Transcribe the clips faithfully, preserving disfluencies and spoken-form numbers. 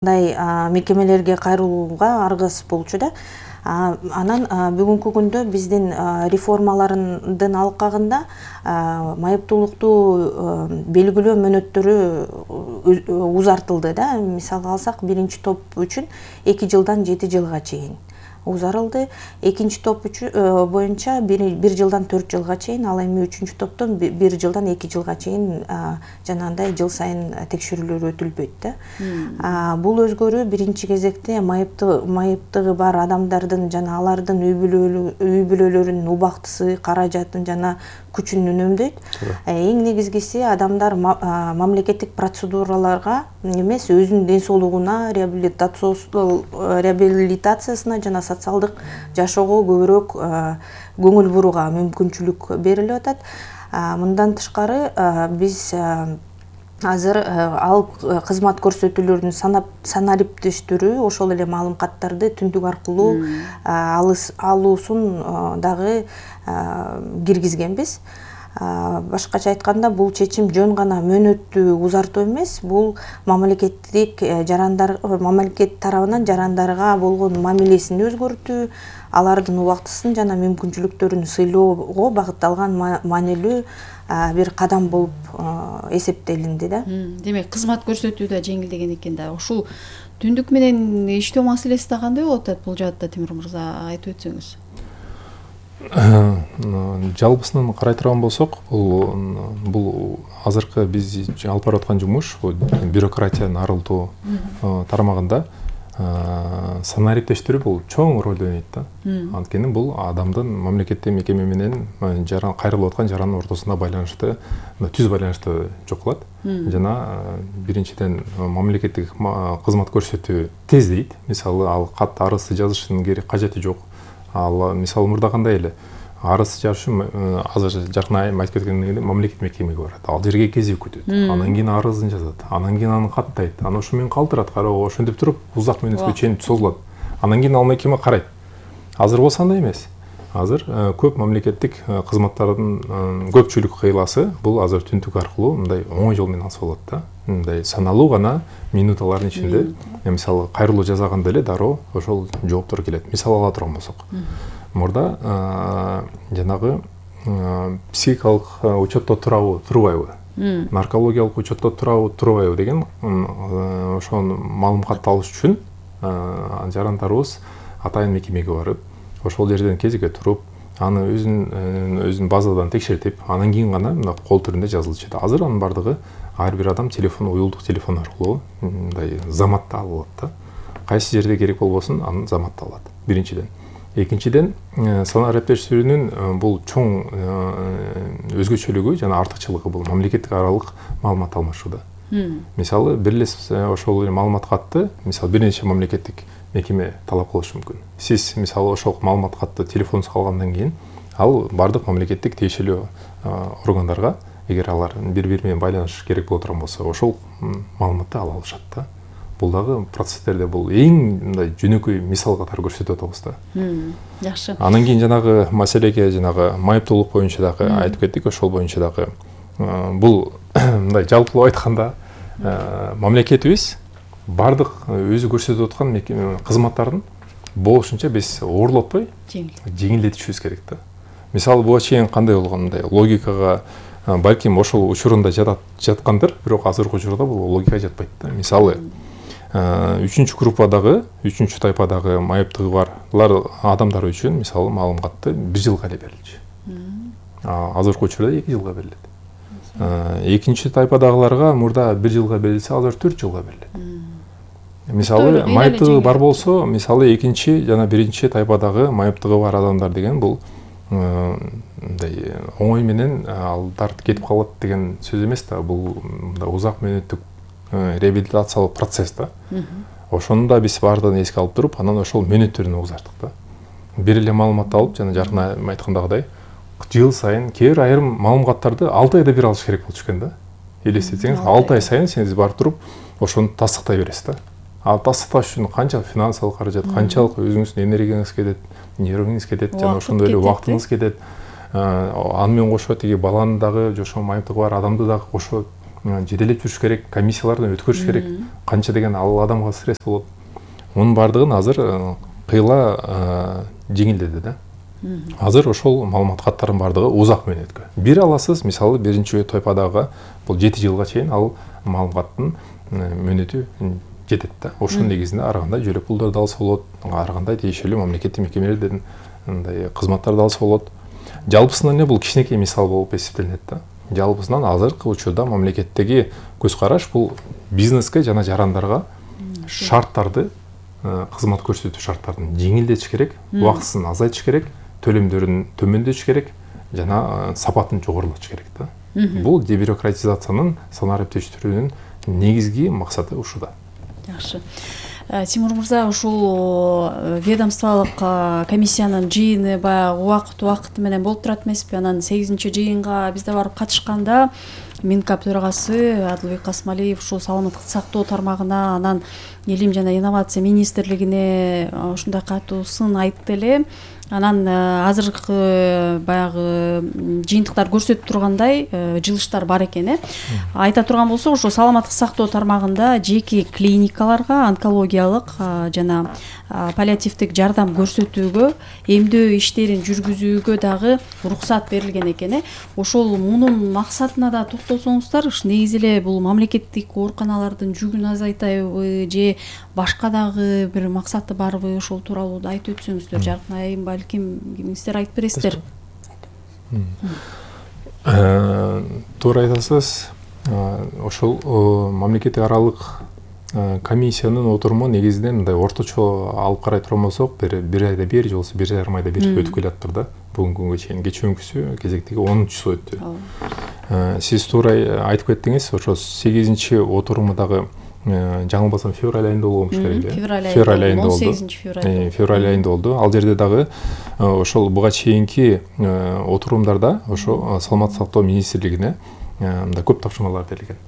мындай мекемелерге кайрылууга аргасыз болчу да. Анан бүгүнкү күндө биздин реформалардын алкагында майыптуулукту белгилөө мөөнөттөрү узартылды да. Мисалга алсак, биринчи топ үчүн эки жылдан жети жылга чейин узарылды. Экинчи топ боюнча бир жылдан төрт жылга чейин, ал эми үчүнчү топтон бир жылдан эки жылга чейин жанагындай жыл сайын текшерүүлөр өтүлбөйт да. Бул өзгөрүү биринчи кезекте майыптыгы бар адамдардын жана алардын үй бүлөлөрүнүн убактысы, каражатын жана күчүн үнөмдөйт. Эң негизгиси, адамдар мамлекеттик процедураларга эмес, өзүнүн ден соолугуна, реабилитациясына жана социалдык жашоого көбүрөөк көңүл бурууга мүмкүнчүлүк берилип атат. Мындан тышкары биз азыр ал кызмат көрсөтүүлөрүнүн санариптештирүү, ошол эле маалым каттарды түндүк аркылуу алуусун дагы киргизгенбиз. Башкача айтканда, бул чечим жөн гана мөөнөттү узартуу эмес, бул мамлекеттик жарандар, мамлекет тарабынан жарандарга болгон мамилесин өзгөртүү, алардын убактысын жана мүмкүнчүлүктөрүн сыйлоого багытталган маанилүү бир кадам болуп эсептелинди да. Демек, кызмат көрсөтүү да жеңилдеген экен да. Ушул түндүк менен иштөө маселеси да кандай болуп атат бул жаатта, Тимур мырза, айтып өтсөңүз? Жалпысынан карай турган болсок, бул азыркы биз алып барып аткан жумуш бюрократияны арылтуу тармагында санариптештирүү бул чоң ролду ойнойт да. Анткени бул адамдын мамлекеттик мекеме менен кайрылып аткан жарандын ортосунда байланышты, түз баланышты жокулат. Жана биринчиден мамлекеттик кызмат көрсөтүү тездейт. Мисалы, ал кат арызды жазышынын керек кажети жок. Ал мисалы мурда кандай эле арыз жазыш үчүн азыр жакын айым айтып кеткендей мамлекеттик мекемеге барат. Ал жерге кезек күтөт. Анан кийин арызын жазат. Анан кийин аны каттайт. Анан ошо менен калтырат. Кароо, ошентип туруп узак мөөнөткө чейин созулат. Анан кийин ал мекеме карайт. Азыр болсо андай эмес. Азыр көп мамлекеттик кызматтардын көпчүлүк кыйласы бул азыр түндүк аркылуу мындай оңой жол менен алса болот да. Мындай саналуу гана минуталардын ичинде, мисалы, кайрылуу жасаганда эле дароо ошол жооптор келет. Мисал ала турган болсок, мурда жанагы психикалык учетто турабы, турбайбы, наркологиялык учетто турабы, турбайбы деген ошону маалыматты алыш үчүн жарандарыбыз атайын мекемеге барып, ошол жерден кезекке туруп, аны өзүнүн өзүнүн базадан текшертип, анан кийин гана мына кол түрүндө жазылчу. Азыр анын бардыгы ар бир адам телефон, уюлдук телефон аркылуу мындай заматта алып алат да. Кайсы жерде керек болбосун, анын заматта алат. Биринчиден. Экинчиден, санариптештирүүнүн бул чоң өзгөчөлүгү жана артыкчылыгы бул мамлекеттик аралык маалымат алмашууда. Мисалы, бир эле ошол маалымат катты, мисалы, бир нече мамлекеттик мекеме талап кылышы мүмкүн. Сиз, мисалы, ошол маалымат катты телефонуңузга алгандан кийин, ал бардык мамлекеттик тиешелүү органдарга, эгер алар бири-бири менен байланыш керек боло турган болсо, ошол маалыматты ала алышат да. Бул дагы процесстерде бул эң мындай жөнөкөй мисал катары көрсөтүп атабыз да. Жакшы. Анан кийин жанагы маселеге, жанагы майыптуулук боюнча дагы айтып кеттик, ошол боюнча дагы бул мындай жалпылап айтканда мамлекетибиз бардык өзү көрсөтүп аткан кызматтардын болушунча биз оорлотпой жеңилдетишибиз керек да. Мисалы, буга чейин кандай болгон, мындай логикага балким ошол учурунда жаткандыр, бирок азыркы учурда бул логикага жатпайт да. Мисалы, үчүнчү группадагы, үчүнчү тайпадагы майыптыгы барлар адамдар үчүн, мисалы, маалым катты бир жылга эле берилчү. Азыркы учурда эки жылга берилет. Экинчи тайпадагыларга мурда бир жылга берилсе, азыр төрт жылга берилет. Мисалы, майыптыгы бар болсо, мисалы, экинчи жана биринчи тайпадагы майыптыгы бар адамдар деген бул мындай оңой менен алдар кетип калат деген сөз эмес да. Бул узак мөөнөттүк реабилитациялык процесс да. Ошону да биз баардыгын эске алып туруп, анан ошол мөөнөттөрүн узартык да. Бир эле маалыматты алып, жана жакын айткандагыдай, жыл сайын кээ бир айрым маалыматтарды алты айда бир алыш керек болчу экен да. Элестетсеңиз, алты ай сайын сиз барып туруп, ошону тастыктай бересиз да. Ал тастыкташ үчүн канча финансылык каражат, канчалык өзүңүздүн энергияңыз кетет, нервиңиз кетет, жана ошондой эле убактыңыз кетет. Аны менен кошо тиги баланы дагы, жошо майыптыгы бар адамды дагы кошо жетелеп жүрүш керек, комиссиялардан өткөрүш керек, канча деген ал адамга стресс болот. Мунун баардыгын азыр кыйла жеңилдеди да. Азыр ошол маалымат каттардын баардыгы узак мөөнөткө. Бир аласыз, мисалы биринчи тойпадагы бул жети жылга чейин ал маалыматтын мөөнөтү жетет да. Ошонун негизинде ар кандай жөлөк пулдарды алса болот, ар кандай тиешелүү мамлекеттик мекемелерден мындай кызматтарды алса болот. Жалпысынан эле бул кичинекей мисал болуп эсептелинет да. Жалпысынан азыркы учурда мамлекеттеги көз караш бул бизнеске жана жарандарга шарттарды, кызмат көрсөтүү шарттарын жеңилдетиш керек, убактысын азайтыш керек, төлөмдөрүн төмөндөтүш керек жана сапатын жогорулатыш керек да. Бул дебюрократизациянын, санариптештирүүнүн негизги максаты ушуда. Жакшы. Тимур мырза, ушул ведомстволук комиссиянын жыйыны баягы убакыт убакыты менен болуп турат эмеспи? Анан сегизинчи жыйынга бизде барып катышканда Минкап төрагасы Адылбек Касмалиев ушул саламаттык сактоо тармагына, анан Илим жана инновация министрлигине ушундай катуу сын айтты эле. Анан азыркы баягы жыйынтыктар көрсөтүп тургандай жылыштар бар экен, э. Айта турган болсок, ошо саламаттык сактоо тармагында жеке клиникаларга онкологиялык жана паллиативдик жардам көрсөтүүгө, эмдөө иштерин жүргүзүүгө дагы уруксат берилген экен, э. Ошол мунун максатына да токтолсоңуздар, негизи эле бул мамлекеттик ооруканалардын жүгүн азайтайбы же башка дагы бир максаты барбы, ошол тууралуу да айтып өтсөңүздөр. Жаркын айым балким кимиңиздер айтып бересиздер. Туура айтасыз. Ошол мамлекеттик аралык комиссиянын отуруму негизинен мындай орточо алып карай турган болсок, бир бир айда бир же болбосо бир жарым айда бир өтүп келаптыр да. Бүгүнкү күнгө чейин кечээкүсү кезектеги онунчусу өттү. Сиз туура айтып кеттиңиз, ошо сегизинчи отуруму дагы жаңылбасам февраль айында болгон болуш керек эле. Февраль айында болду. он сегизинчи февраль. Февраль айында болду. Ал жерде дагы ошол буга чейинки отурумдарда ошо саламаттык сактоо министрлигине мындай көп тапшырмалар берилген.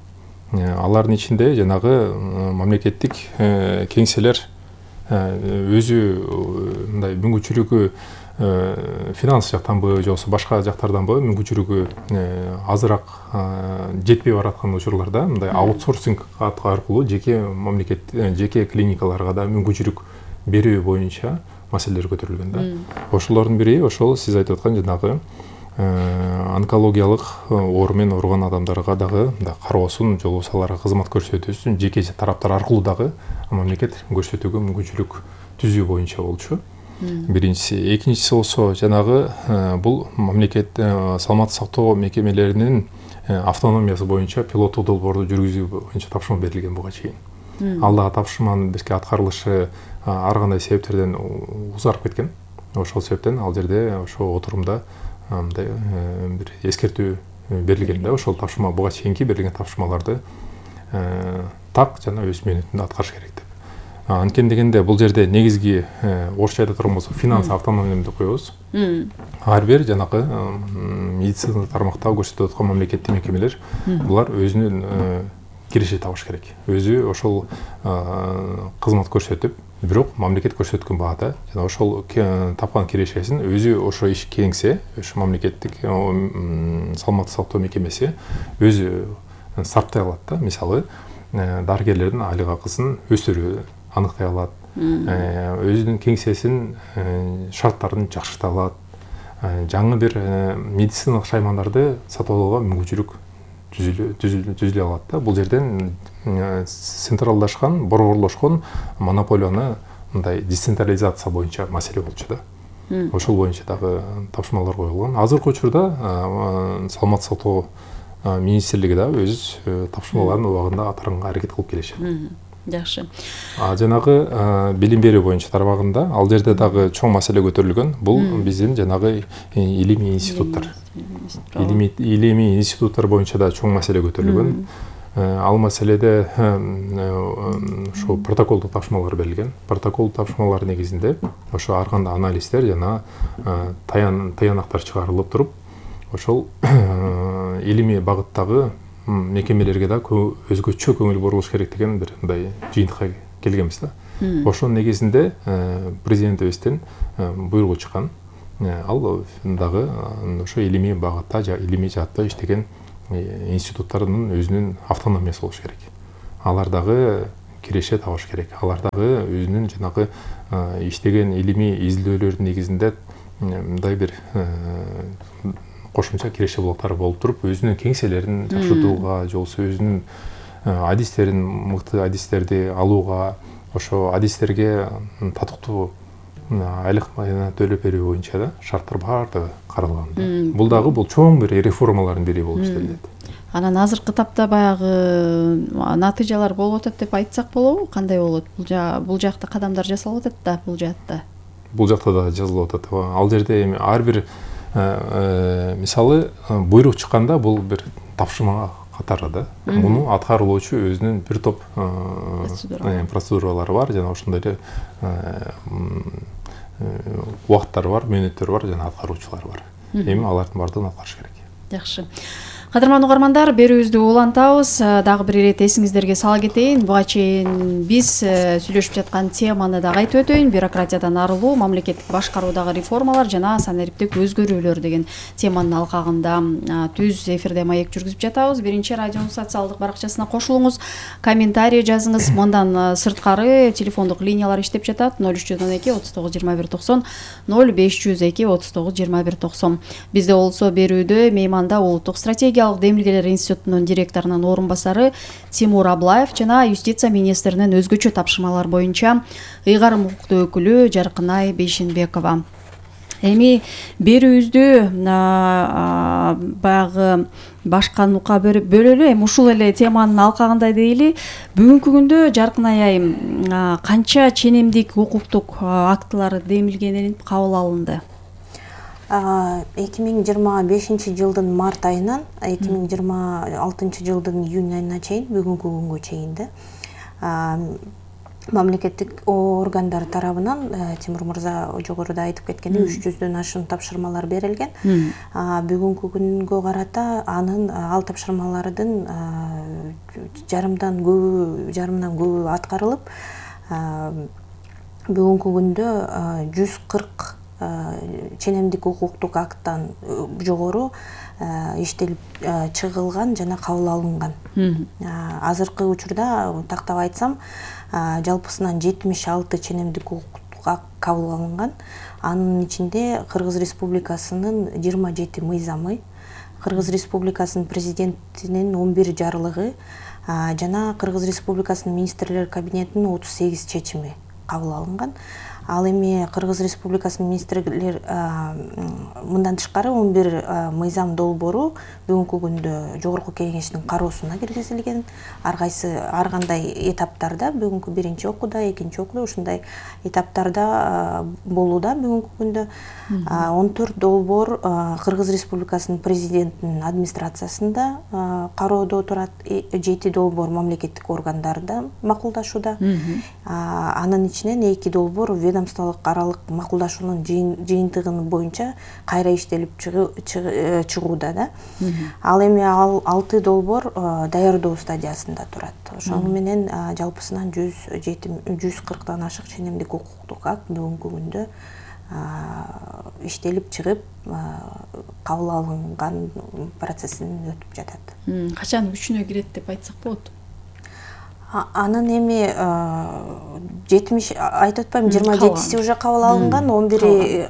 Алардын ичинде жанагы мамлекеттик кеңселер өзү мындай мүмкүнчүлүгү финанс жактанбы же болбосо башка жактарданбы мүмкүнчүлүгү азыраак жетпей бараткан учурларда мындай аутсорсинг аркылуу жеке мамлекет жеке клиникаларга да мүмкүнчүлүк берүү боюнча маселелер көтөрүлгөн да. Ошолордун бири ошол сиз айтып аткан жанагы онкологиялык оору менен ооруган адамдарга дагы кароосун же болбосо аларга кызмат көрсөтүүсүн жеке тараптар аркылуу дагы мамлекет көрсөтүүгө мүмкүнчүлүк түзүү боюнча болчу. Биринчиси, экинчиси болсо жанагы бул мамлекет саламаттык сактоо мекемелеринин автономиясы боюнча пилоттук долбоорду жүргүзүү боюнча тапшырма берилген буга чейин. Ал дагы тапшырманын бизге аткарылышы ар кандай себептерден узарып кеткен. Ошол себептен ал жерде ошо отурумда мындай бир эскертүү берилген да. Ошол тапшырма буга чейинки берилген тапшырмаларды так жана өз мөөнөтүндө аткарыш керек деп. Анткени дегенде бул жерде негизги орусча айта турган болсок финанс автономия деп коебуз. Ар бир жанагы медицина тармакта көрсөтүп аткан мамлекеттик мекемелер булар өзүнүн киреше табыш керек. Өзү ошол кызмат көрсөтүп, бирок мамлекет көрсөткөн баада жана ошол тапкан кирешесин өзү ошо иш кеңсе, ошо мамлекеттик саламаттык сактоо мекемеси өзү сарптай алат да. Мисалы, дарыгерлердин айлык акысын өстүрүү аныктай алат, өзүнүн кеңсесин шарттарын жакшырта алат, жаңы бир медициналык шаймандарды сатып алууга мүмкүнчүлүк түзүлө алат да. Бул жерден централдашкан, борборлошкон монополияны мындай децентрализация боюнча маселе болчу да. Ошол боюнча дагы тапшырмалар коюлган. Азыркы учурда саламаттык сактоо министрлиги да өз тапшырмаларын убагында атаганга аракет кылып келишет. Жакшы. А жанагы билим берүү боюнча тармагында ал жерде дагы чоң маселе көтөрүлгөн. Бул биздин жанагы илимий институттар. Илимий институттар боюнча да чоң маселе көтөрүлгөн. Ал маселеде ошо протоколдук тапшырмалар берилген. Протоколдук тапшырмалар негизинде ошо ар кандай анализдер жана таянактар чыгарылып туруп, ошол илимий багыттагы мекемелерге да өзгөчө көңүл бурулуш керек деген бир мындай жыйынтыкка келгенбиз да. Ошонун негизинде президентибизден буйругу чыккан. Ал дагы ошо илимий багытта же илимий жаатта иштеген институттардын өзүнүн автономиясы болуш керек. Алар дагы киреше табыш керек. Алар дагы өзүнүн жанагы иштеген илимий изилдөөлөрдүн негизинде мындай бир кошумча киреше блоктары болуп туруп, өзүнүн кеңселерин жакшыртууга, же болбосо өзүнүн адистерин, мыкты адистерди алууга, ошо адистерге татыктуу айлык төлөп берүү боюнча да шарттар баардыгы каралган. Бул дагы бул чоң бир реформалардын бири болуп эстелет. Анан азыркы тапта баягы натыйжалар болуп атат деп айтсак болобу? Кандай болот? Бул жакта кадамдар жасалып атат да, бул жакта. Бул жакта да жазылып атат. Ал жерде эми ар бир мисалы буйрук чыкканда бул бир тапшырма катары да. Муну аткарылуучу өзүнүн бир топ процедуралары бар, жана ошондой эле убакыттары бар, мөөнөттөрү бар, жана аткаруучулар бар. Эми алардын баардыгын аткарыш керек. Жакшы. Кадырман угармандар, берүүбүздү улантабыз. Дагы бир ирет эсиңиздерге сала кетейин. Буга чейин биз сүйлөшүп жаткан теманы дагы айтып өтөйүн. Бюрократиядан арылуу, мамлекеттик башкаруудагы реформалар жана санариптик өзгөрүүлөр деген теманын алкагында түз эфирде маек жүргүзүп жатабыз. Биринчи радионун социалдык баракчасына кошулуңуз, комментарий жазыңыз. Мындан сырткары телефондук линиялар иштеп жатат. ноль үч жүз он эки отуз тогуз жыйырма бир токсон, ноль беш жүз эки отуз тогуз жыйырма бир токсон. Бизде болсо берүүдө мейманда улуттук стратегия демилгелер институтунун директорунун орун басары Тимур Аблаев жана юстиция министринин өзгөчө тапшырмалар боюнча ыйгарым укуктуу өкүлү Жаркынай Бейшенбекова. Эми берүүбүздү баягы башка нукка бөлөлү, эми ушул эле теманын алкагында дейли. Бүгүнкү күндө Жаркынай айым канча ченемдик укуктук актылар демилгеленип кабыл алынды? эки миң жыйырма бешинчи жылдын март айынан эки миң жыйырма алтынчы жылдын июнь айына чейин, бүгүнкү күнгө чейин да мамлекеттик органдар тарабынан Тимур мырза жогоруда айтып кеткендей үч жүздөн ашуун тапшырмалар берилген. Бүгүнкү күнгө карата анын ал тапшырмалардын жарымдан көбү, жарымдан көбү аткарылып, бүгүнкү күндө жүз кырк ченемдик укуктук акттан жогору иштелип чыгылган жана кабыл алынган. Азыркы учурда тактап айтсам, жалпысынан жетимиш алты ченемдик укуктук акт кабыл алынган. Анын ичинде Кыргыз Республикасынын жыйырма жети мыйзамы, Кыргыз Республикасынын президентинин он бир жарлыгы жана Кыргыз Республикасынын министрлер кабинетинин отуз сегиз чечими кабыл алынган. Ал эми Кыргыз Республикасынын министрлер мындан тышкары он бир мыйзам долбоору бүгүнкү күндө жогорку кеңештин кароосуна киргизилген. Ар кайсы ар кандай этаптарда, бүгүнкү биринчи окууда, экинчи окууда ушундай этаптарда болууда бүгүнкү күндө. он төрт долбоор Кыргыз Республикасынын президентинин администрациясында кароодо турат, жети долбоор мамлекеттик органдарда макулдашууда. Анын ичинен эки долбоор ведомстволук аралык макулдашуунун жыйынтыгы боюнча кайра иштелип чыгууда да. Ал эми ал алты долбоор даярдоо стадиясында турат. Ошону менен жалпысынан жүз кырктан ашык ченемдик укуктук акт бүгүнкү күндө иштелип чыгып кабыл алынган процессин өтүп жатат. Качан күчүнө кирет деп айтсак болот? Анын эми жетимиш айтып атпайм, жыйырма жетиси уже кабыл алынган, он бири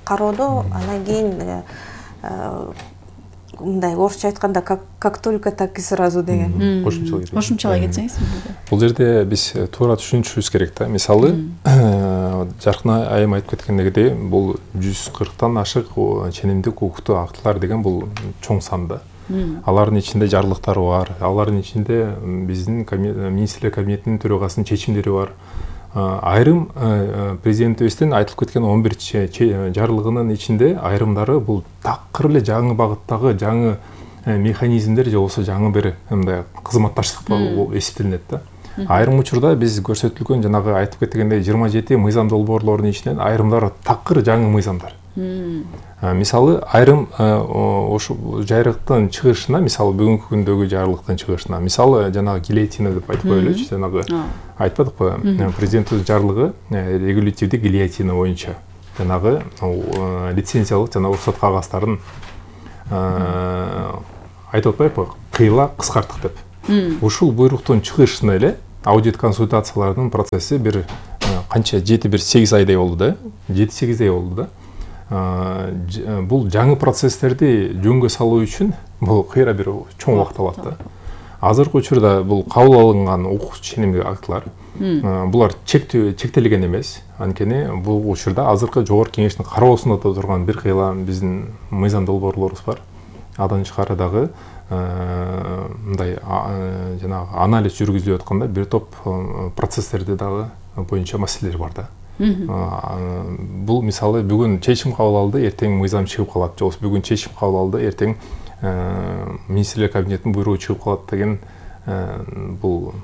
кароодо, анан кийин мындай орусча айтканда как только так и сразу деген. Кошумчалай кетсеңиз. Бул жерде биз туура түшүнүшүбүз керек да. Мисалы, Жаркынай айым айтып кеткендегидей, бул жүз кырктан ашык ченемдик укуктук актылар деген бул чоң сан да. Алардын ичинде жарлыктар бар, алардын ичинде биздин министрлер кабинетинин төрагасынын чечимдери бар. Айрым президентибиздин айтылып кеткен он бир жарлыгынын ичинде айрымдары бул такыр эле жаңы багыттагы жаңы механизмдер же болбосо жаңы бир мындай кызматташтык болуп эсептелинет да. Айрым учурда биз көрсөтүлгөн жанагы айтып кеткендей жыйырма жети мыйзам долбоорлордун ичинен айрымдары такыр жаңы мыйзамдар. Мисалы, айрым ошу жайрыктын чыгышына, мисалы бүгүнкү күндөгү жарлыктын чыгышына, мисалы жанагы гильотина деп айтып коелучу, жанагы айтпадыкпы, президенттин жарлыгы регулятивдик гильотина боюнча жанагы лицензиялык жана уруксат кагазтарын айтып атпайбы, кыйла кыскарттык деп. Ушул буйруктун чыгышына эле аудит консультациялардын процесси бир канча жети бир сегиз айдай болду да, жети сегиз ай болду да. Бул жаңы процесстерди жөнгө салуу үчүн бул кыйра бир чоң убакыт алат да. Азыркы учурда бул кабыл алынган укук ченемдик актылар булар чектөө чектелген эмес. Анткени бул учурда азыркы жогорку кеңештин кароосунда турган бир кыйла биздин мыйзам долбоорлорубуз бар. Адан тышкары дагы мындай жанагы анализ жүргүзүлүп атканда бир топ процесстерди дагы боюнча маселелер бар да. Бул мисалы бүгүн чечим кабыл алды, эртең мыйзам чыгып калат, же бүгүн чечим кабыл алды, эртең министрлер кабинетинин буйругу чыгып калат деген бул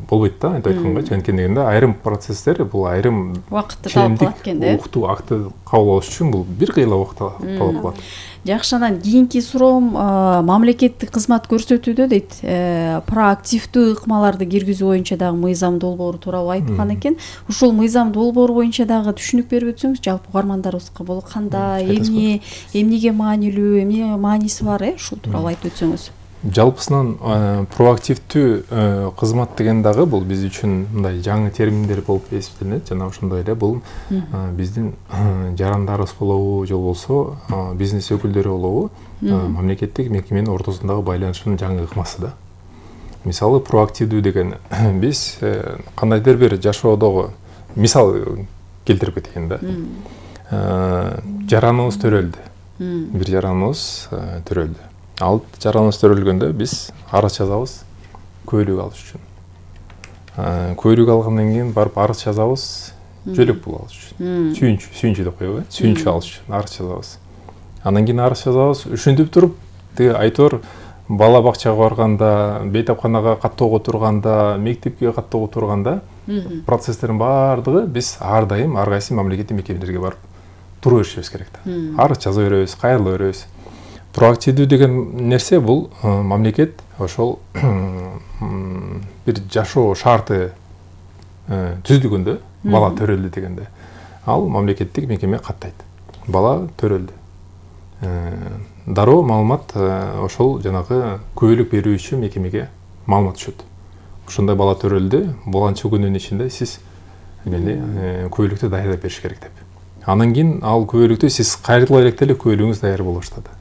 болбойт да, айтып айтканга. Анткени дегенде айрым процесстер бул айрым убакытты талап кылат экен да. Укуктуу акты кабыл алыш үчүн бул бир кыйла убакыт талап кылат. Жакшы, анан кийинки суроом мамлекеттик кызмат көрсөтүүдө дейт, проактивдүү ыкмаларды киргизүү боюнча дагы мыйзам долбоору тууралуу айткан экен. Ушул мыйзам долбоору боюнча дагы түшүнүк берип өтсөңүз, жалпы угармандарыбызга болот кандай, эмне, эмнеге маанилүү, эмне мааниси бар, э, ушул тууралуу айтып өтсөңүз. Жалпысынан проактивдүү кызмат деген дагы бул биз үчүн мындай жаңы терминдер болуп эсептелет. Жана ошондой эле бул биздин жарандарыбыз болобу, же болбосо бизнес өкүлдөрү болобу, мамлекеттик мекеменин ортосундагы байланышынын жаңы ыкмасы да. Мисалы проактивдүү деген биз кандайдыр бир жашоодогу мисал келтирип кетейин да. Жараныбыз төрөлдү. Бир жараныбыз төрөлдү. Ал жараныбыз төрөлгөндө биз арыз жазабыз көйлүк алыш үчүн. Көйлүк алгандан кийин барып арыз жазабыз жөлөк пул алыш үчүн. Сүйүнчү, сүйүнчү деп коебу, сүйүнчү алыш үчүн арыз жазабыз. Андан кийин арыз жазабыз, ушинтип туруп, тиги айтор бала бакчага барганда, бейтапканага каттоого турганда, мектепке каттоого турганда процесстердин баардыгы биз ар дайым ар кайсы мамлекеттик мекемелерге барып тура беришибиз керек да. Арыз жаза беребиз, кайрыла беребиз. Проактивдүү деген нерсе бул мамлекет ошол бир жашоо шарты түзүлгөндө, бала төрөлдү дегенде, ал мамлекеттик мекеме каттайт. Бала төрөлдү. Дароо маалымат ошол жанагы көйлүк берүү үчүн мекемеге маалымат түшөт. Ошондой бала төрөлдү, боланча күнүн ичинде сиз көйлүктү даярдап бериш керек деп. Андан кийин ал көйлүктү сиз кайрыла электе эле көйлүгүңүз даяр боло баштады.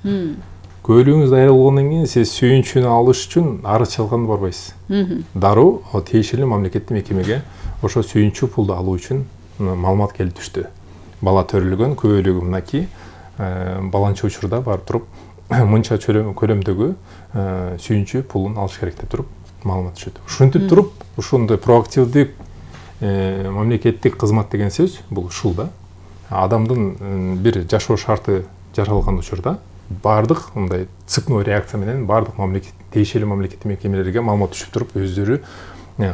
Көйлүгүңүз даяр болгондон кийин сиз сүйүнчүнү алыш үчүн арыз жазганды барбайсыз. Дароо тиешелүү мамлекеттик мекемеге ошо сүйүнчү пулду алуу үчүн маалымат келип түштү. Бала төрөлгөн, көйлүгү мынакей, баланча учурда барып туруп мынча көлөмдөгү сүйүнчү пулун алыш керек деп туруп маалымат түшөт. Ушинтип туруп, ушундай проактивдик мамлекеттик кызмат деген сөз бул ушул да. Адамдын бир жашоо шарты жаралган учурда бардык мындай цепной реакция менен бардык мамлекет тиешелүү мамлекеттик мекемелерге маалымат түшүп туруп, өздөрү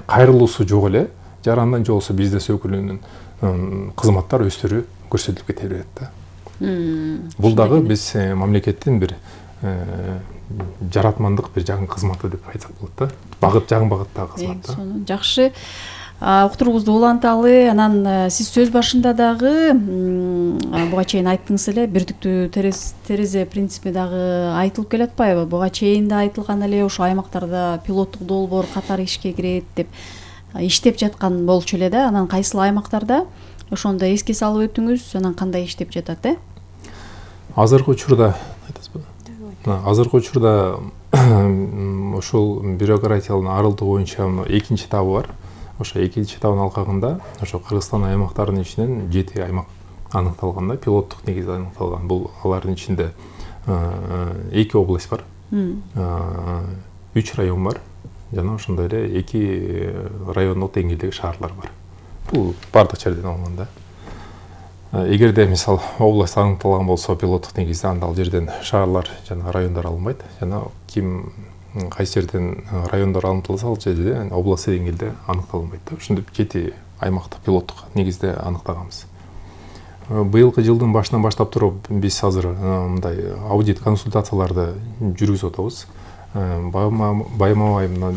кайрылуусу жок эле жарандан же болбосо бизнес өкүлүнүн кызматтар өздөрү көрсөтүлүп кете берет да. Бул дагы биз мамлекеттин бир жаратмандык бир жаңы кызматы деп айтсак болот да. Багыт жаңы багыттагы кызмат да. Жакшы. Уктуруубузду уланталы. Анан сиз сөз башында дагы буга чейин айттыңыз эле, бирдиктүү терезе принципи дагы айтылып келатпайбы? Буга чейин да айтылган эле, ошо аймактарда пилоттук долбоор катары ишке кирет деп иштеп жаткан болчу эле да. Анан кайсыл аймактарда ошондо эске салып өтүңүз, анан кандай иштеп жатат, э? Азыркы учурда азыркы учурда ошол бюрократиянын арылтуу боюнча экинчи этабы бар. Ошо экинчи этабын алкагында ошо Кыргызстан аймактарынын ичинен жети аймак аныкталган да, пилоттук негизде аныкталган. Бул алардын ичинде эки область бар, үч район бар, жана ошондой эле эки райондук деңгээлдеги шаарлар бар. Бул бардык жерден алынган да. Эгерде мисал область аныкталган болсо пилоттук негизде, анда ал жерден шаарлар жана райондар алынбайт. Жана ким кайсы жерден райондар аныкталса, ал жерде областый деңгээлде аныкталынбайт да. Ошондой жети аймакты пилоттук негизде анықтағанбыз. Быйылкы жылдын башынан баштап туруп биз азыр мындай аудит консультацияларды жүргүзүп атабыз. Байма-бай мына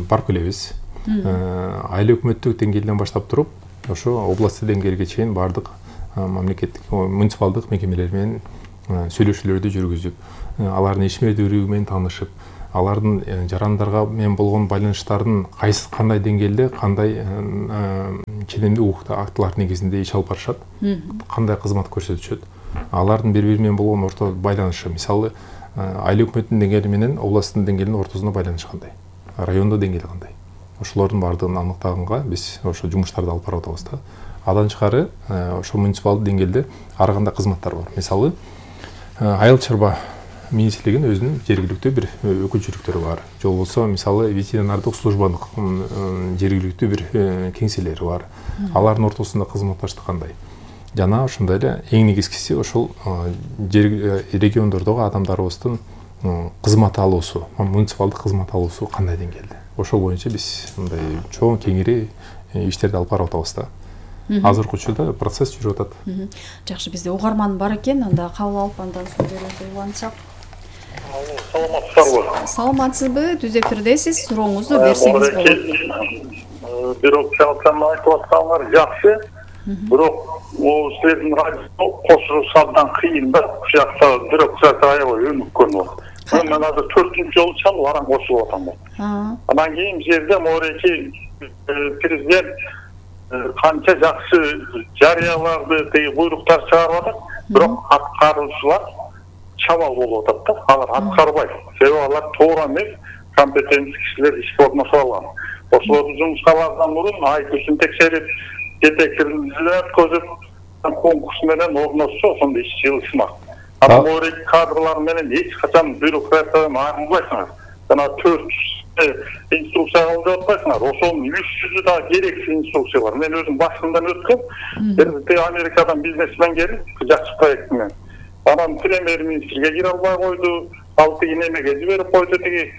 барып келебиз. Айыл өкмөттүк деңгээлден баштап туруп, ошо областтык деңгээлге чейин бардык мамлекеттик, муниципалдык мекемелер менен сүйлөшүүлөрдү жүргүзүп, алардын ишмердүүлүгү менен таанышып, алардын жарандарга менен болгон байланыштардын кайсы кандай деңгээлде, кандай ченемдүү укуктуу актылар негизинде иш алып барышат, кандай кызмат көрсөтүшөт, алардын бири бири менен болгон орто байланышы, мисалы айыл өкмөттүн деңгээли менен областтын деңгээлинин ортосунда байланыш кандай, райондо деңгээли кандай, ошолордун баардыгын аныктаганга биз ошо жумуштарды алып барып атабыз да. Адан тышкары ошо муниципалдык деңгээлде ар кандай кызматтар бар. Мисалы айыл чарба министрлигинин өзүнүн жергиликтүү бир өкүлчүлүктөрү бар. Же болбосо мисалы ветеринардык службанын жергиликтүү бир кеңселери бар. Алардын ортосунда кызматташтык кандай? Жана ошондой эле эң негизгиси ошол региондордогу адамдарыбыздын кызмат алуусу, муниципалдык кызмат алуусу кандай деңгээлде? Ошол боюнча биз мындай чоң кеңири иштерди алып барып атабыз да. Азыркы учурда процесс жүрүп атат. Жакшы, бизде угарман бар экен, анда кабыл алып андан соң берүүгө улантсак. Саламатсызбы? Саламатсызбы? Түз эфирдесиз. Сурооңузду берсеңиз болот. Бирок чалкан айтып атканыңар жакшы. Бирок могу силердин радио кошулушадан кыйын да. Бул жакта бирок аябай өнүккөн болот. Мен азыр төртүнчү жолу чалып аран кошулуп атам. Андан кийин бул жерде могуреки президент канча жакшы жарыяларды, теги буйруктар чыгарып атат, бирок аткаруучулар чабал болуп атат да. Алар аткарбайт. Себеби алар туура эмес, компетенттүү кишилер ишке орношо алган. Ошолорду жумушка алардан мурун айтысын текшерип, жетекчилер өткөзүп, конкурс менен орношсо ошондо иш жылышмак. Анан могуреки кадрлар менен эч качан бюрократиядан айрылбайсыңар. Жана төрт инструкция кылып жатпайсыңар. Ошонун үч жүзү да керексиз инструкциялар. Мен өзүм башынан өткөм. Бир Америкадан бизнесмен келип, жакшы проект менен. Анан премьер-министрге кире албай койду, ал тиги немеге жиберип койду, тиги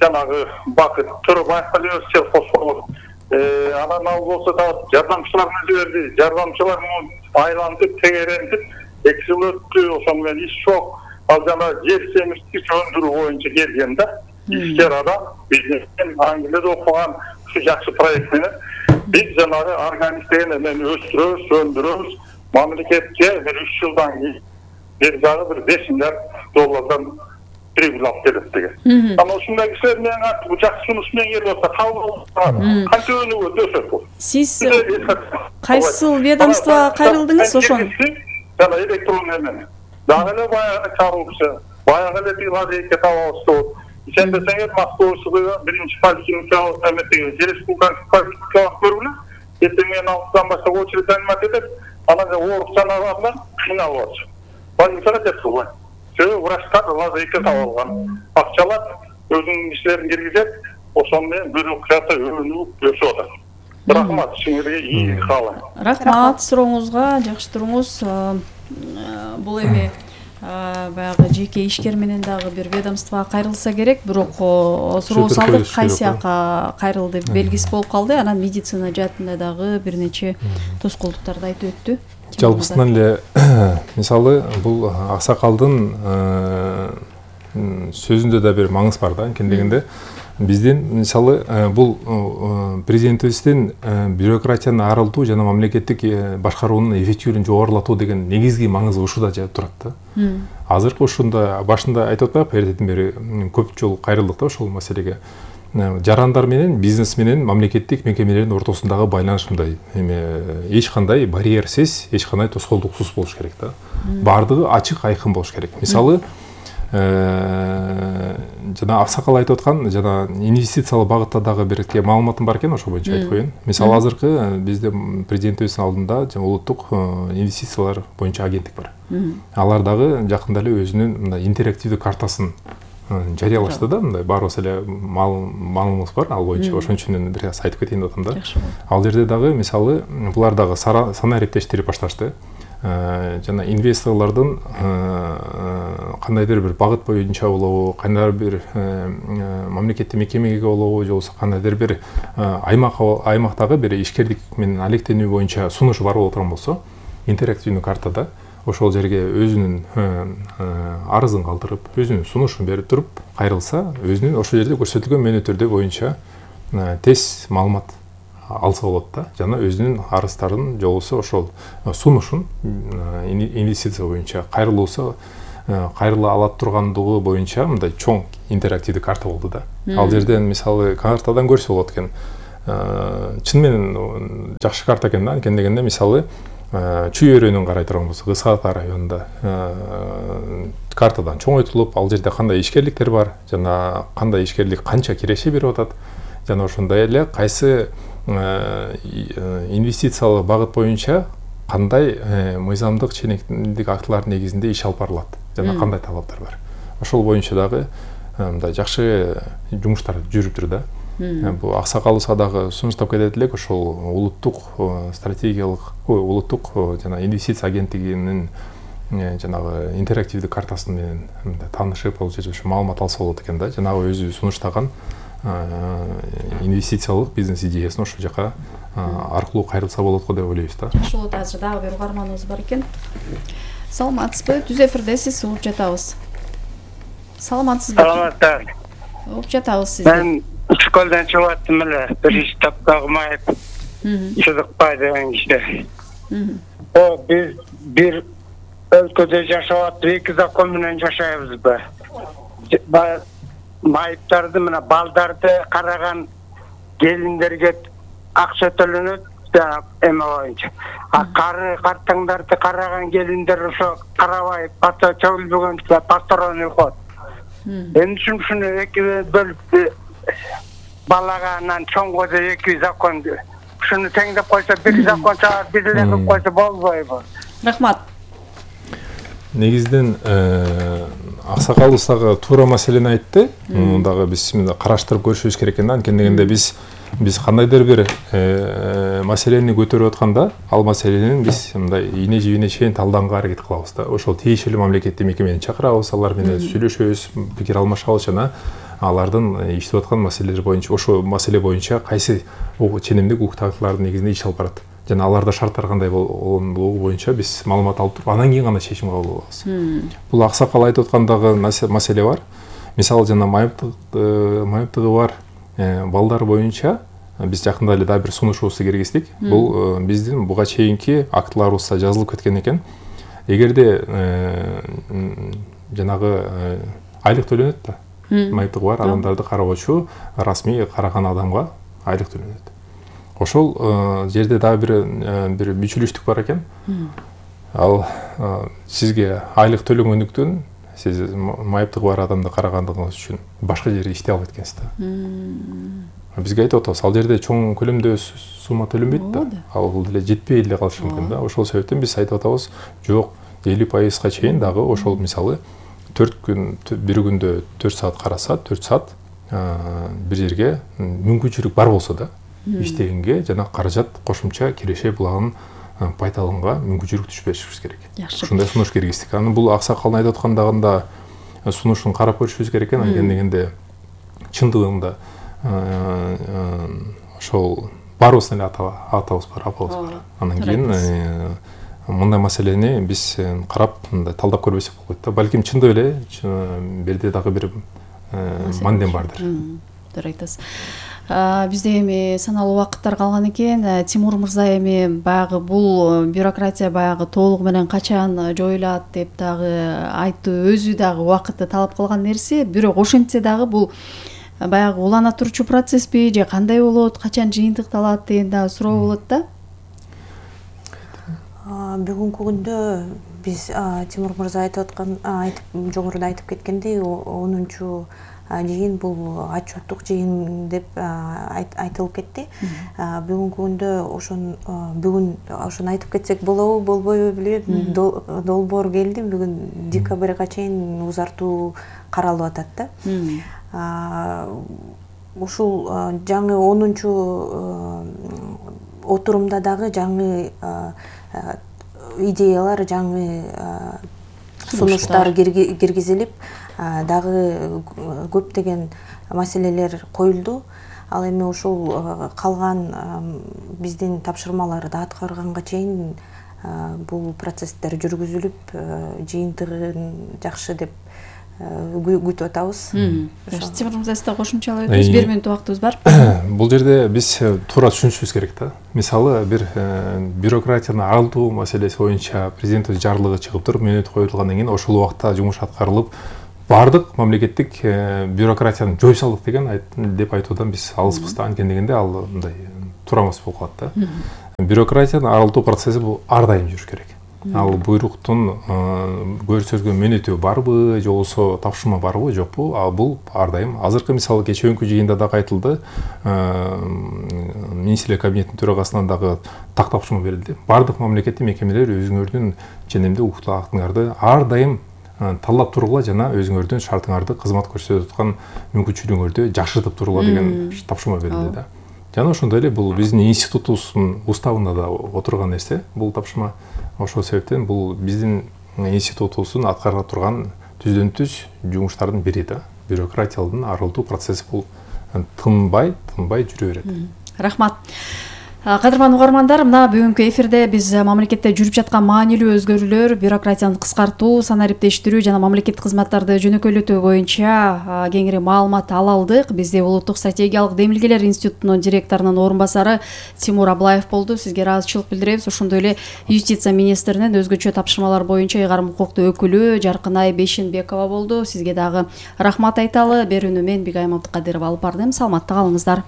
жанагы Бакыт Төрөбаевга жиберсе фосфор. Анан ал болсо да жардамчыларына жиберди. Жардамчылар айлантып, тегерентип, эки жыл өттү, ошону менен иш жок. Ал жана жер семирткич өндүрүү боюнча келген да. Ишкер адам, бизнесмен, Англияда окуган ушу жакшы проект менен биз жанагы органиктерин менен өстүрөбүз, өндүрөбүз. Мамлекетке бир үч жылдан кийин бир жагы бир беш миллиард доллардан прибыль алып келет деген. Анан ушундай кишилер менен бул жакшы жумуш менен келип атса, кабыл алып канча өнүгөт өсөт бул. Сиз кайсыл ведомствого кайрылдыңыз ошон? Жана электронный менен. Дагы эле баягы коррупция, баягы эле тиги лазейка табабыз. Сен десеңер Москвада биринчи поликлиника эметеги республикалык поликлиника көрүлө. Эртең менен алтыдан баштап очередь занимать этет. Анан оорук жанагарлар кыйналып атышат. Больницага жеткилбайт. Себеби врачтар лазейка таап алган. Акчалар өзүнүн кишилерин киргизет, ошону менен бюрократия өнүгүп өсүп атат. Рахмат, силерге ийгилик каалайм. Рахмат сурооңузга, жакшы туруңуз. Бул эми баягы жеке ишкер менен дагы бир ведомствого кайрылса керек, бирок суроо салдык, кайсы жака кайрылды белгисиз болуп калды. Анан медицина жаатында дагы бир нече тоскоолдуктарды айтып өттү. Жалпысынан эле мисалы бул аксакалдын сөзүндө да бир маңыз бар да, анткени дегенде биздин мисалы бул президентибиздин бюрократияны арылтуу жана мамлекеттик башкаруунун эффективдүүлүгүн жогорулатуу деген негизги маңызы ушуда турат да. Азыркы ушунда башында айтып атпайбы, эртеден бери көп жолу кайрылдык да ошол маселеге. Жарандар менен бизнес менен мамлекеттик мекемелердин ортосундагы байланыш мындай эме эч кандай барьерсиз, эч кандай тоскоолдуксуз болуш керек да. Бардыгы ачык, айкын болуш керек. Мисалы жана аксакал айтып аткан жана инвестициялык багытта дагы бир маалыматым бар экен, ошол боюнча айтып коеюн. Мисалы азыркы бизде президентибиздин алдында улуттук инвестициялар боюнча агенттик бар. Алар дагы жакында эле өзүнүн мындай интерактивдүү картасын жарыялашты да, мындай баарыбыз эле маалыматыбыз бар ал боюнча. Ошон үчүн бир аз айтып кетейин деп атам да. Ал жерде дагы мисалы булар дагы санаа эрептештирип башташты. Жана инвесторлордун кандайдыр бир багыт боюнча болобу, кандайдыр бир мамлекеттик мекемеге болобу, же болбосо кандайдыр бир аймак аймактагы бир ишкерлик менен алектенүү боюнча сунушу бар боло турган болсо, интерактивдүү картада ошол жерге өзүнүн арызын калтырып, өзүнүн сунушун берип туруп кайрылса, өзүнүн ошол жерде көрсөтүлгөн мөөнөттөрдө боюнча тез маалымат алса болот да, жана өзүнүн арыздарын же болбосо ошол сунушун инвестиция боюнча кайрылуусу кайрыла ала тургандыгы боюнча мындай чоң интерактивдүү карта болду да. Ал жерден мисалы картадан көрсө болот экен. Чын менен жакшы карта экен да, анткени дегенде мисалы Чүй өрөөнүн карай турган болсок, Ысык Ата районунда картадан чоңойтулуп, ал жерде кандай ишкерликтер бар, жана кандай ишкерлик канча киреше берип атат, жана ошондой эле кайсы инвестициялык багыт боюнча кандай мыйзамдык ченемдик актылар негизинде иш алып барылат, жана кандай талаптар бар. Ошол боюнча дагы мындай жакшы жумуштар жүрүптүр да. Бул аксакалыбызга дагы сунуштап кетет элек, ошол улуттук стратегиялык, улуттук жана инвестиция агенттигинин жанагы интерактивдүү картасы менен таанышып, ал жерде ошо маалымат алса болот экен да. Жанагы өзү сунуштаган инвестициялык бизнес идеясын ошол жака аркылуу кайрылса болот го деп ойлойбуз да. Ошол азыр дагы бир угарманыбыз бар экен. Саламатсызбы? Түз эфирдесиз, угуп жатабыз. Саламатсызбы? Саламатсыздар. Угуп жатабыз сизди. Мен школдан чыгып аттым эле, биринчи топтогу майып. Чыдыкпай деген киши. О, биз бир өлкөдө жашап атып, эки закон менен жашайбызбы? Майыптарды мына балдарды караган келиндерге акча төлөнөт, эме боюнча. А кары картаңдарды караган келиндер ошо карабай, бата чөгүлбөгөн посторонний ход. Эмне үчүн ушуну эки бөлүп балага анан чоңго да эки закон, ушуну теңдеп койсо бир закон чыгат, бир эле кылып койсо болбойбу? Рахмат. Негизинен аксакалыбыз дагы туура маселени айтты. Муну дагы биз караштырып көрүшүбүз керек экен да. Анткени дегенде биз биз кандайдыр бир маселени көтөрүп атканда, ал маселенин биз мындай ийне жибине чейин талдаганга аракет кылабыз да. Ошол тиешелүү мамлекеттик мекемени чакырабыз, алар менен сүйлөшөбүз, пикир алмашабыз жана алардын иштеп аткан маселелер боюнча, ошол маселе боюнча кайсы ченемдик укук актылардын негизинде иш алып барат. Жана аларда шарттар кандай болгондугу боюнча биз маалымат алып туруп, анан кийин гана чечим кабыл алабыз. Бул аксакал айтып аткандагы маселе бар. Мисалы жана майыптыгы бар балдар боюнча биз жакында эле дагы бир сунушубузду киргиздик. Бул биздин буга чейинки актыларыбызда жазылып кеткен экен. Эгерде жанагы айлык төлөнөт да, майыптыгы бар адамдарды кароочу расмий караган адамга айлык төлөнөт. Ошол жерде дагы бир бир мүчүлүштүк бар экен. Ал сизге айлык төлөнгөндүктөн сиз майыптыгы бар адамды карагандыгыңыз үчүн башка жерде иштей албайт экенсиз да. Бизге айтып атабыз, ал жерде чоң көлөмдө сумма төлөнбөйт да. Ал деле жетпей эле калышы мүмкүн да. Ошол себептен биз айтып атабыз, жок, элүү пайызга чейин дагы ошол мисалы төрт күн, бир күндө төрт саат караса, төрт саат бир жерге мүмкүнчүлүк бар болсо да, иштегенге жана каражат кошумча киреше булагын пайдаланганга мүмкүнчүлүк түшпөшүбүз керек. Ушундай сунуш киргиздик. Аны бул аксакалдын айтып аткандагында сунушун карап көрүшүбүз керек экен. Анткени дегенде чындыгында ошол баарыбыздын эле атабыз бар, апабыз бар. Анан кийин мындай маселени биз карап мындай талдап көрбөсөк болот да. Балким чындап эле берде дагы бир мандем бардыр. Туура айтасыз. Бизде эми саналуу убакыттар калган экен. Тимур мырза эми баягы бул бюрократия баягы толугу менен качан жоюлат деп дагы айтты, өзү дагы убакытты талап кылган нерсе. Бирок ошентсе дагы бул баягы улана турчу процессби же кандай болот, качан жыйынтыкталат деген дагы суроо болот да. Бүгүнкү күндө биз Тимур мырза айтып аткан, айтып жогоруда айтып кеткендей, онунчу жыйын бул отчеттук жыйын деп айтылып кетти. Бүгүнкү күндө ошон бүгүн ошону айтып кетсек болобу, болбойбу билбейм. Долбоор келди, бүгүн декабрга чейин узартуу каралып атат да. Ушул жаңы онунчу отурумда дагы жаңы идеялар, жаңы сунуштар киргизилип, дагы көптөгөн маселелер коюлду. Ал эми ушул калган биздин тапшырмаларды аткарганга чейин бул процесстер жүргүзүлүп, жыйынтыгын жакшы деп күтүп атабыз. Тимур мырза, сиз да кошумчалап өтүңүз. бир мүнөт убактыбыз бар. Бул жерде биз туура түшүнүшүбүз керек да. Мисалы бир бюрократияны арылтуу маселеси боюнча президенттин жарлыгы чыгып туруп, мөөнөт коюлгандан кийин ошол убакта жумуш аткарылып, бардык мамлекеттик бюрократияны жоюп салдык деген деп айтуудан биз алыспыз да. Анткени дегенде ал мындай туура эмес болуп калат да. Бюрократияны арылтуу процесси бул ар дайым жүрүш керек. Ал буйруктун көрсөтүлгөн мөөнөтү барбы, же болбосо тапшырма барбы, жокпу? Ал бул ар дайым. Азыркы мисалы кечээкү жыйында дагы айтылды. Министрлер кабинетинин төрагасынан дагы так тапшырма берилди. Бардык мамлекеттик мекемелер өзүңөрдүн ченемде укуктуу актыңарды ар дайым талдап тургула жана өзүңөрдүн шартыңарды кызмат көрсөтүп аткан мүмкүнчүлүгүңөрдү жакшыртып тургула деген тапшырма берилди да. Жана ошондой эле бул биздин институтубуздун уставында да отурган нерсе. Бул тапшырма ошол себептен бул биздин институтубуздун аткара турган түздөн түз жумуштардын бири да. Бюрократиялык арылтуу процесси бул тынбай, тынбай жүрө берет. Рахмат. Кадырман угармандар, мына бүгүнкү эфирде биз мамлекетте жүрүп жаткан маанилүү өзгөрүүлөр, бюрократияны кыскартуу, санариптештирүү жана мамлекеттик кызматтарды жөнөкөйлөтүү боюнча кеңири маалымат ала алдык. Бизде Улуттук стратегиялык демилгелер институтунун директорунун орун басары Тимур Аблаев болду. Сизге ыраазычылык билдиребиз. Ошондой эле юстиция министринин өзгөчө тапшырмалар боюнча ыйгарым укуктуу өкүлү Жаркынай Бешенбекова болду. Сизге дагы рахмат айталы. Берүүнү мен Бигайым Абдыкадырова алып бардым. Саламатта калыңыздар.